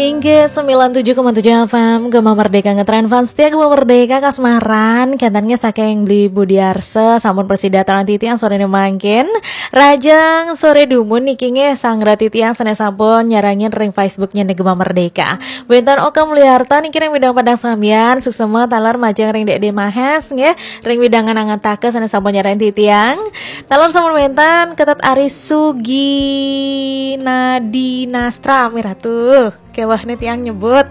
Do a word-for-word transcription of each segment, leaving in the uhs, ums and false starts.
Inggih, sembilan tujuh koma tujuh F M, Gema Merdeka ngetren fans setia Gema Merdeka kasmaran, kenten nggih saking Bli Budiarsa, sampun prasida taler titiang sorene mangkin. Rahajeng sore dumun niki nggih sang ratu titiang sane sampun nyarengin ring Facebooknya Gema Merdeka. Wenten Oka Mulyarta niki ring widang Padang Sambian, suksma taler majeng ring Dek De Mahes nggih, ring widangan Angantaka sane sampun nyarengin titiang. Taler sampun wenten Ketut Ari Suginadinastra, Miratu. Keweh nih tiang nyebut.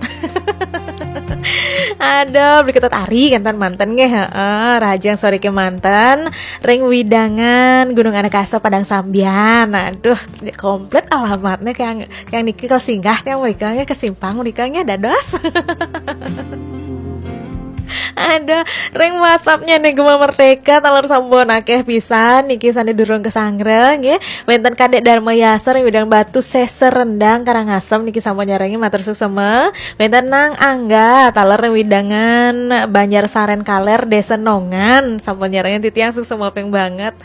Aduh, Bli Ketut Ari kenten manten nggih, heeh, rahajeng sore kemanten ring widangan Gunung Anakasa Padang Sambian. Aduh, komplit alamatnya kayak kayak niki kalau singgah tiang mereka nggih, kesimpang mereka nggih dados. Aduh, ring WhatsAppnya nih Gema Merdeka taler sampun akeh pisan niki sane durung kasanggra nggih. Wenten Kadek Dharma Yasa ring widang Batu Seser Rendang Karangasem niki sampun nyarengin, matur suksma. Wenten Nang Angga taler ring widangan Banjar Saren Kaler Desa Nongan sampun nyarengin titiang, suksma ping banget.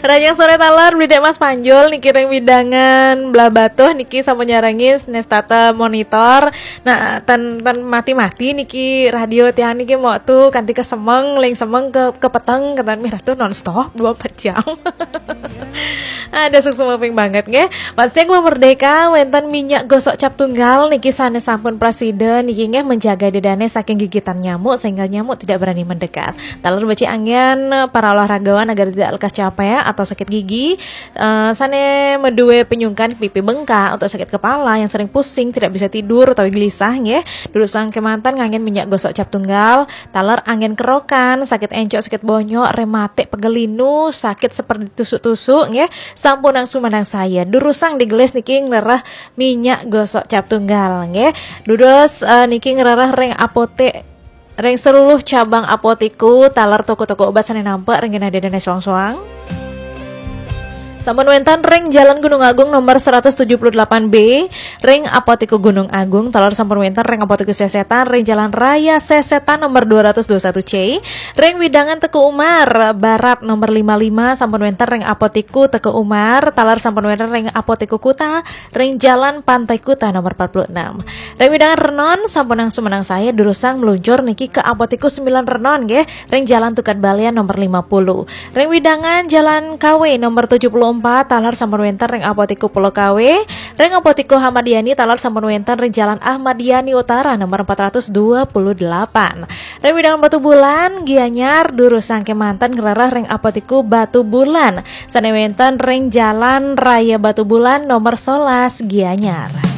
Rahajeng sore taler Bli Dek Mas Panjul niki ring widangan Blahbatuh niki sampun nyarengin, nestata monitor. Nah, tan tan mati-mati niki radio tiang niki mau tuh kanti ke semeng, ling semeng ke ke peteng, kenten Miratu nonstop dua empat jam. Ada, suksma ping banget nggih. Pasti Gema Merdeka wenten minyak gosok cap tunggal niki sane sampun prasida niki nggih menjaga dedane saking gigitan nyamuk sehingga nyamuk tidak berani mendekat. Taler becik anggih para olahragawan agar tidak lekas capek atau sakit gigi. Eh, sane medue penyungkan pipi bengkak, atau sakit kepala, yang sering pusing, tidak bisa tidur atau gelisah nggih. Durusang kemanten nganggen minyak gosok cap tunggal, taler anggen kerokan, sakit encok, sakit bonyok, rematik, pegel linu, sakit seperti tusuk-tusuk nggih. Sampunang sumanang saya. Durusang digelis niki ngrereh minyak gosok cap tunggal nggih. Durus eh, niki ngrereh ring apotek, ring seluruh cabang apotiku, taler toko-toko obat sane nampek ring genah dedene soang-soang. Sampun wenten ring Jalan Gunung Agung nomor seratus tujuh puluh delapan B, ring Apotiku Gunung Agung, taler sampun wenten ring Apotiku Sesetan, ring Jalan Raya Sesetan nomor dua ratus dua satu C, ring widangan Teuku Umar Barat nomor lima lima, sampun wenten ring Apotiku Teuku Umar, taler sampun wenten ring Apotiku Kuta, ring Jalan Pantai Kuta nomor empat puluh enam. Ring widangan Renon, sampunang sumanang saya, durusang meluncur niki ke Apotiku sembilan Renon nggih, ring Jalan Tukad Balian nomor lima puluh. Ring widangan Jalan Kawe nomor tujuh puluh empat, taler sampun wenten ring Apotiku Pulau Kawe, ring Apotiku Ahmad Yani, taler sampun wenten ring Jalan Ahmad Yani Utara nomor empat ratus dua puluh delapan. Ring widangan Batu Bulan, Gianyar, durusang kemanten ngrereh ring Apotiku Batu Bulan sane wenten ring Jalan Raya Batu Bulan nomor sebelas, Gianyar.